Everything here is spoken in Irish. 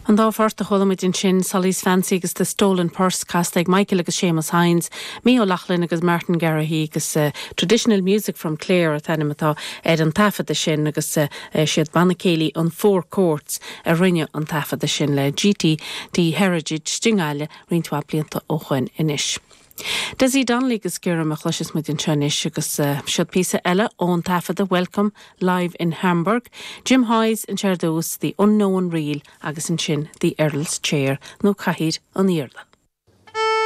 An dá phort a chuala muid ansin, Solly's Fancy agus The Stolen Purse, casta ag Michael agus Séamus Hynes, Micheál Ó Lochlainn agus Martin Garrahy agus Traditional Music from Clare an t-ainm atá ar an taifeadadh sin agus siad Banna Céilí an Four Courts a rinne an taifeadadh sin le GTD Heritage i nGaillimh roinnt mhaith blianta ó shoin anois. Dessie Donnelly agus Giorrum a chloisfeas muid anseo anois agus siod píosa eile ón taifeadadh Welcome Live in Hamburg, Jim Hayes anseo ar dtús, The Unknown Reel agus ansin The Earl's Chair nó Cathaoir an Iarla.